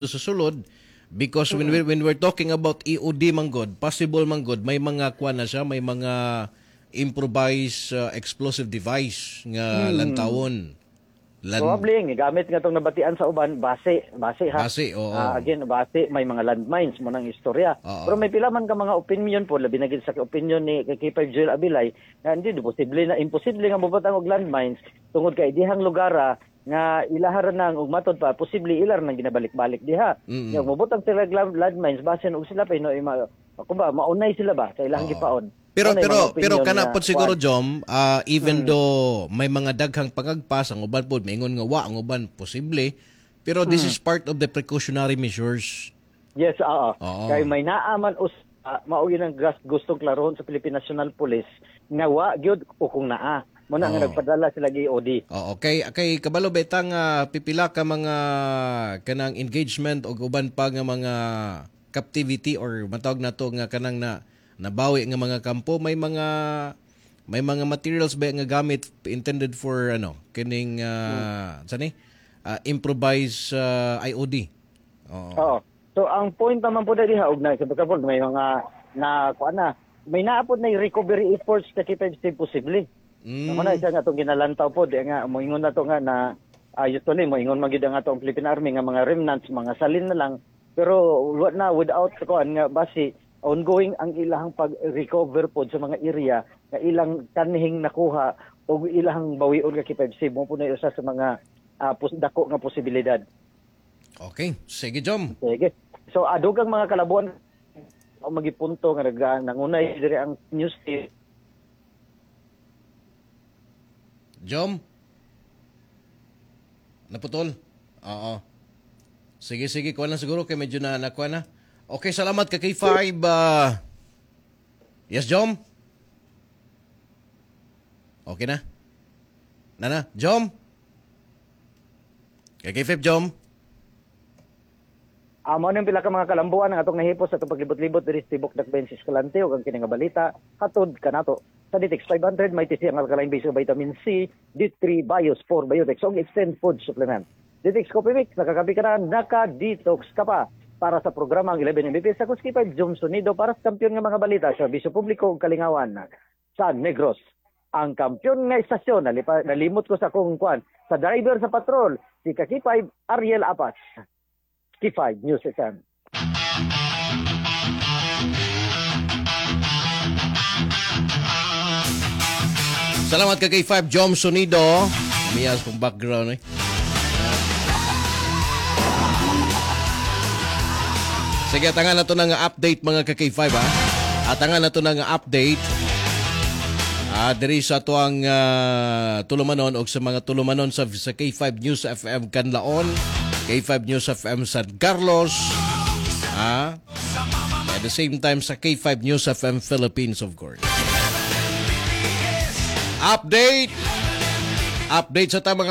Sa sulod because when we're talking about EOD manggod, possible manggod may mga kuan na siya, may mga improvised explosive device nga lantawon. Probably ang gigamit nga tong nabatian sa uban, base base ha. Base, oo. Ah, again, base may mga landmines mo nang istorya. Pero may pila man ka mga opinion po, labi na gid sa opinion ni kay K5 Joel Abilay nga hindi di posible na, imposible nga mobutang og landmines tungod kay dihang lugara nga ilaharan nang ug matod pa posible ilar nang ginabalik-balik diha. Nya mobutang sila og landmines, basin og sila pa no ima kumba maunay sila ba sa ilang gipaon. Pero Mao na yung pero mga pero opinion kana nga, pod siguro kuan. Jom, even though may mga daghang pangagpas, ang uban pod maingon nga wa, ang uban posible, pero this is part of the precautionary measures. Yes, oo. Oo. Kay may naaman us mao yun ang gustong klarohon sa Philippine National Police nga wa gyud o kung naa. Mo na nga nagpadala sila gi EOD. Oo, kay kabalo beta nga pipila ka mga kanang engagement og uban pa nga mga captivity or matawag nato nga kanang na nabawi nga mga kampo, may mga materials ba nga gamit intended for ano kining sa ni improvise IOD. Oo. Oo. So ang point naman po na diha og na sa pagkapol may mga na kuan na may naapod na yung recovery efforts ka K5 posible. Mo na siya nga atong ginalantaw po di nga moingon na to nga na usually moingon man gyud ang atong Philippine Army nga mga remnants, mga salin na lang, pero wa na without kuan nga basi ongoing ang ilahang pag-recover pod sa mga area nga ilang kanhing nakuha o ilahang bawion ka K5C mo po na usa sa mga dako nga posibilidad. Okay, sige, Jom. Sige. So adugang mga kalabuan o magipunto nga nag nangunay diri ang news team. Jom? Naputol? Oo. Sige, sige. Kuha lang siguro kay medyo na nakuha na. Okay, salamat ka K5. Yes, Jom? Okay na? Nana, Jom? Kay K5, Jom? Amo nang pila ka mga kalambuan ang atong nahipos sa atong paglibot-libot diri sa tibok Dakbayan sa Escalante ug ang kini nga balita hatod kanato sa DTX 500 may TC ang alkaline base vitamin C, D3, Bios 4 Biotex ug Extend Food Supplement. DTX Coffee Mix, nakakapi ka na, naka-detox ka pa. Para sa programa ang 11 MVP sa Kuski 5 Jom Sonido para sa kampiyon nga mga balita, serbisyo publiko ug kalingawan sa Negros. Ang kampiyon nga istasyon, nalimot ko sa kong kwan, sa driver sa patrol, si Kaki 5 Ariel Apas. K5 News FM. Salamat ka K5 Jom Sonido. Miyas pong background eh. Sige, atangan na to ng update mga ka K5 ha. Atangan na to ng update. Diri sa tuang tulumanon o sa mga tulumanon sa K5 News FM Canlaon, K5 News FM San Carlos, at the same time sa K5 News FM Philippines, of course. Update! Update sa ta mga